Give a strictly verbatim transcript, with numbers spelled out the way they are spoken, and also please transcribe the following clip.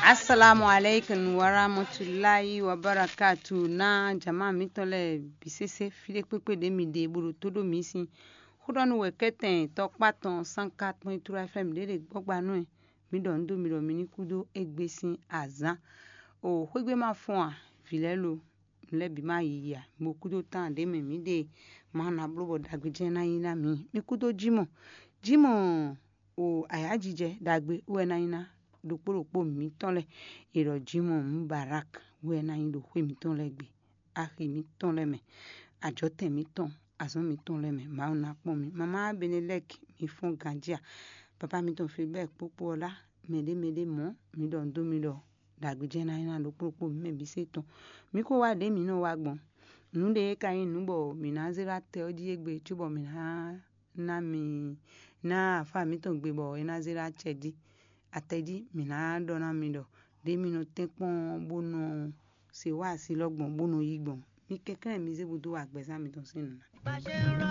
Assalamu alaikum warahmatullahi wabarakatuh. Na jama mǐtɔn lɛ́ɛ bǐ sésé fí ɖé kpékpé ɖě mi ɖe bó ɖo tó ɖó mǐ sín xó ɖɔ nú wɛ kɛ́tɛn tɔkpá tɔn sánká tɔn e tló F M ɖě ɖe gbɔ́gba nú ɛ. Mǐ ɖɔ nǔ dó mi ɖɔ mi ní kú dó égbé sín azǎn. O xwégbé ma fɔ́n a, vǐ lɛ́ɛ lo, nǔ lɛ́ɛ bǐ ma yiyi a, bo kú dó tán ɖě mɛ mǐ ɖe ma ná bló bɔ ɖagbe jɛ́n ná nyí ná mǐ. Mi kú dó jí mɔ, jí mɔ o ayǎjijɛ ɖagbe wɛ ná nyí ná ɖokpó ɖokpó mǐtɔn lɛ́ɛ. È ɖɔ jí mɔ Mubarak wɛ ná nyí ɖo xwé mǐtɔn lɛ́ɛ gbe, axi mǐtɔn lɛ́ɛ mɛ, ajɔ̌tɛn mǐtɔn, azɔ̌ mǐtɔn lɛ́ɛ mɛ. Mawu ná kpɔ́n mi. Mamá Benelɛ́k, mi fɔ́n ganjí a? Papá mǐtɔn Filibɛ́ɛ kpókpó ɔ́ lá mɛɖé mɛɖé mɔ̌, mi ɖɔ nǔ dó mi ɖɔ ɖagbe jɛ́n ná nyí ná ɖokpó ɖokpó mǐ mɛ bǐ se tɔn. Mǐ ko wá ɖě mǐ nɔ wá gbɔn. Nǔ ɖé ka nyí nǔ bɔ mǐ ná zé ɖó atɛ ɔ́ jí égbé cóbɔ mǐ ná ná mi ná afá mǐtɔn gbe bɔ é ná zé ɖó acɛ jí. Atɛ jí mǐ ná ɖɔ ná mi ɖɔ ɖě mi nɔ tɛ́nkpɔ́n bó nɔ se wá asi lɔ gbɔn bó nɔ yí gbɔn. Mi kɛnklɛ́n mi zé bó dó wa gbɛzán mitɔn sín nǔ ná.